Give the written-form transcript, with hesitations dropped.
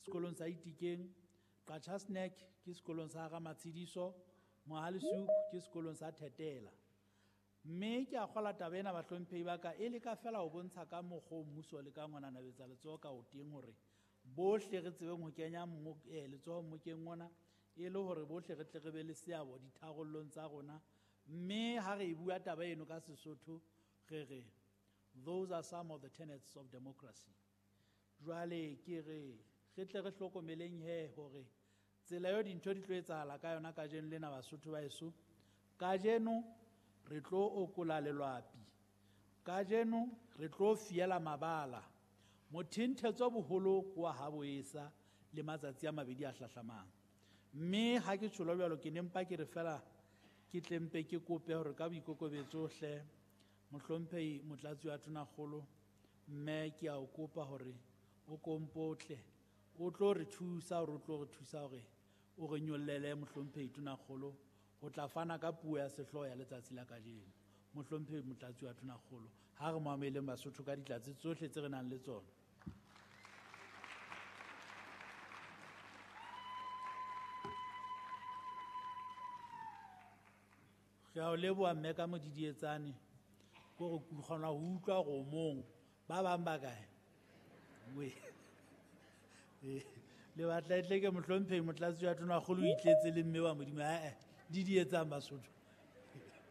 sekolong sa Itikeng, Qacha's Nek ke sekolong sa Ramatshediso, Mohale's Hoek ke sekolong sa Thetela. Mme ke a kgola taba ena bahlomphehi ba ka e leka fela ho bontsha ka mokgwa o mmuso le ka ngwana nabetsa letsoho ka o teng hore bohle re tsebeng ho kenya letsoho mmokeng ona e le hore bohle re tle re be le seabo ditharollong tsa rona. Mme ha re e bua taba eno ka Sesotho re re those are some of the tenets of democracy. Jwale ke re re tle re hlokomeleng he hore tsela eo dintho di tlo etsahala ka yona kajeno lena Basotho ba heso, kajeno re tlo okola lelwapi, kajeno re tlo fiela mabala. Mothenthetso boholo ke wa ha boesa le matsatsi a mabedi a hlahlamang. Mme ha ke tjholo jwalo ke ne mpa ke re fela ke tle mpe ke kope hore ka boikokobetso hle mohlomphehi Motlatsi wa Tonakgolo, mme ke a o kopa hore o kompotle o tlo re thusa hore o tlo re thusa hore o re nyollele mohlomphehi Tonakgolo ho tla fana ka puo ya sehlooho ya letsatsi la kajeno. Mohlomphehi Motlatsi wa Tonakgolo, ha re mo amoheleng Basotho ka ditlatse tsohle tse re nang le tsona. Re a o leboha mme ka modidietsane, ke hore ke kgona ho utlwa hore o mong. Ba bang ba kae? We. Le batla e tle ke mohlomphehi Motlatsi wa Tonakgolo o itletse le mme wa Modimo. Ae, didietsang Basotho.